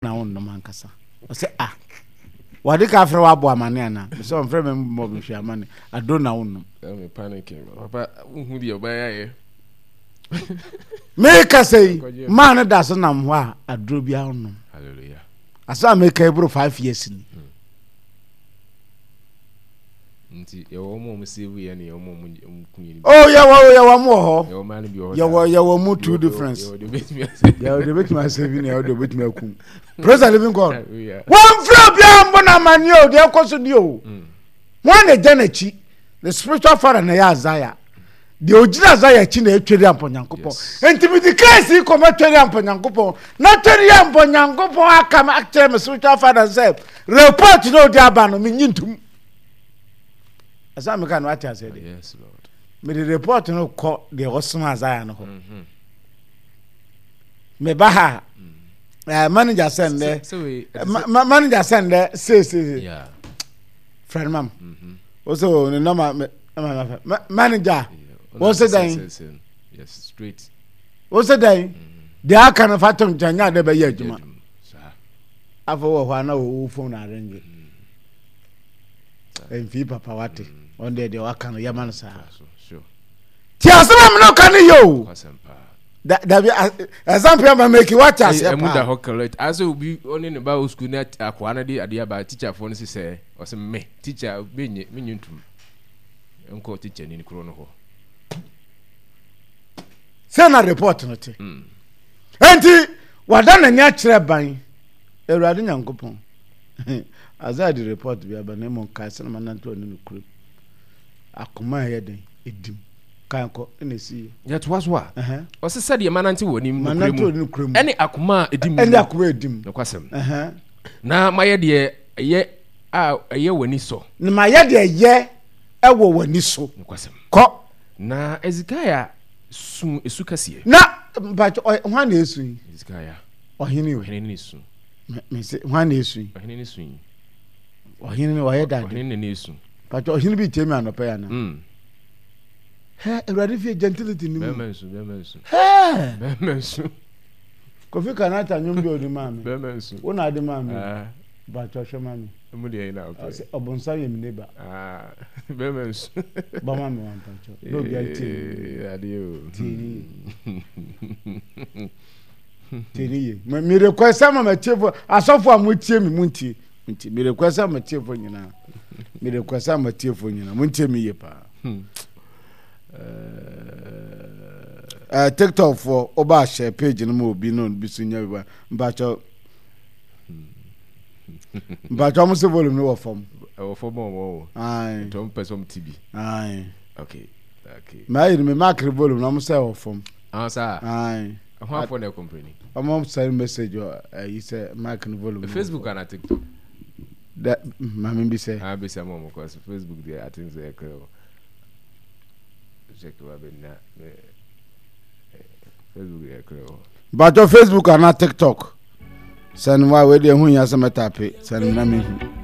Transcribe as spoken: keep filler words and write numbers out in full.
Na wonnom ankasa. Ɔsɛ ah, wɔde ka frɛ woabɔ amane anaa? Mesɛ ɔmfrɛ me mmɔ me hwɛ amane. Aduro na wonnom. Me panicking. Papa, wohu deɛ ɔbɛyɛ ayɛ. Meka sɛ yi, maa no da so nam hɔ a aduro biara wonnom. Hallelujah. Asɛ a meka yi boro five years ni. Nti yɛwɔ wɔn a wɔn save yɛ ne yɛwɔ wɔn a wɔn kun yɛ. Oh, yɛwɔ yɛwɔ mo wɔ hɔ. Yɛwɔ mmaa no bi wɔ hɔ. Yɛwɔ yɛwɔ mu two difference. Yɛwɔ deɛ obetumi asave. Yɛwɔ deɛ obetumi asave ne yɛwɔ deɛ obetumi akum. Praise the living God. Hallelujah. Wɔn fira obiara mbɔ na amaneɛ o, deɛ ɛkɔ so ni o. Wɔn na ɛgya n'akyi. The spiritual father na ɛyɛ Isaiah. Deɛ ogyina Isaiah akyi na ɛtweri ampɔ Nyankopɔn. Yes. Nti mi di keesi kɔmɛ tweri ampɔ Nyankopɔn. Na tweri ampɔ Nyankopɔn aka m akyerɛ mi spiritual father sɛ report na odi aba no mi nyi ntum. Ɛsɛ mi ka no ate aseɛ de. Yes, Lord. Mede report no kɔ deɛ ɔsoma Isaiah no hɔ. Meba ha a, eh, manager sɛ ndɛ Sɛ wei ɛte ma sɛ ma- manager sɛ ndɛ seesei yeah. frɛ no mam wo sɛ o ne nɔma me ma ma fɛ Ma- manager Yeah. wo sɛ dɛn Sɛ- sɛ- Yes, straight. wo sɛ dɛn deɛ aka no fa tom nkyɛn nyɛ ade bɛyɛ adwuma. Saa. Afɔ wɔ hɔ a na wo phone arrange mfii papa wate ɔn deɛ deɛ waka no yɛma no saa. So, sure. Ti asɛm a mene ka no yɛ o. Kwasɛm paa. Da- dabi a- example ama meki wate aseɛ Ɛmu da paa. hɔ correct. Asɛ obi ɔne ne ba wɔ sukuu na akoa no de adeɛ aba teacherfoɔ no sɛ ɔsɛ me teacher menye menye ntum nkɔ teacher ni kuro no hɔ. Sɛ na report no te. Enti wada n'ani akyerɛ ban Awurade Nyankopɔn. Isaiah de report bi aba na mmom kae sɛ na manante ɔne no kurom. Akoma a ɛyɛ den ɛdim. Kan kɔ ɛna ɛsi yɛ. Yɛtoa so a Ɛhɛn. ɔsɛ sɛdeɛ manante wɔ anim Manante nokorɛ ɔne mu no kurom. ɛne akoma a ɛdi mu Ɛne akoma a ɛdim. Nokwasɛm. Ɛhɛn. Na mayɛ deɛ ɛyɛ a ɛyɛ w'ani sɔ. Na mayɛ deɛ ɛyɛ ɛwɔ w'ani so. Nokwasɛm. Kɔ. Na Hezekiah su esu kɛseɛ. Na mpakyɛ ɔ hwan na esu yi? Hezekiah. Ɔhene o. Ɔhene ne su. Me me se hwan na esu yi? Ɔhene ne su yi. Ɔhene no ɔyɛ dade. Ɔhene ne ne su. Mpakyɛ ɔhene bi tie mi anɔpɛ yi ana? Mm. Hɛ, Awurade fie gentility ni mu. Bɛrima nsu, bɛrima nsu. Hɛ! Bɛrima nsu. Kofi Kanata nnwom bi a ɔde maa me. Bɛrima nsu. Wo na ade maa me. Ah. Mpakyɛ hwɛ ma me. Mu deɛ yi na ɔpɛ. Ɔsɛ ɔbonsam yɛ me neighbor. Ah. Bɛrima nsu. Bɔ ma me wa mpakyɛ. Na obi antie me. Eh, adeɛ o. Tie ni yie. Tie ni yie. Me me request ama m'atiefo asɔfo a motie me montie. Montie. Me request ama m'atiefo nyinaa. Me request ama m'atiefo nyinaa. Montie me yie paa. Eh, TikTok foɔ woba ahyɛ page no ma obi na obi so nya bi ba. Mpakyɛ mpakyɛ ɔmo sɛ volume no wɔ fam. Ɛwɔ fam a ɔmo wɔ. Aye. Nti ɔmo pɛ sɛ ɔmo ti bi. Aye. Okay. Okay. Maa yi no me mark volume na ɔmo sɛ ɛwɔ fam. Ah, saa. Aye. Ɛho afɔ na ɛkɔmpleni. Ɔmo send message wɔ ɛyi sɛ mark no volume. no wɔ Facebook fam. ana TikTok? Da maame bi sɛ. Ah, bisa mo ɔmo kɔ so Facebook deɛ I think sɛ ɛkɛ o. Check wa bɛ na Facebook deɛ ɛkɛ o. Mpakyɛ Facebook ana TikTok. Sɛn wa wei deɛ ho hia sɛ mɛtape sɛn na mehu.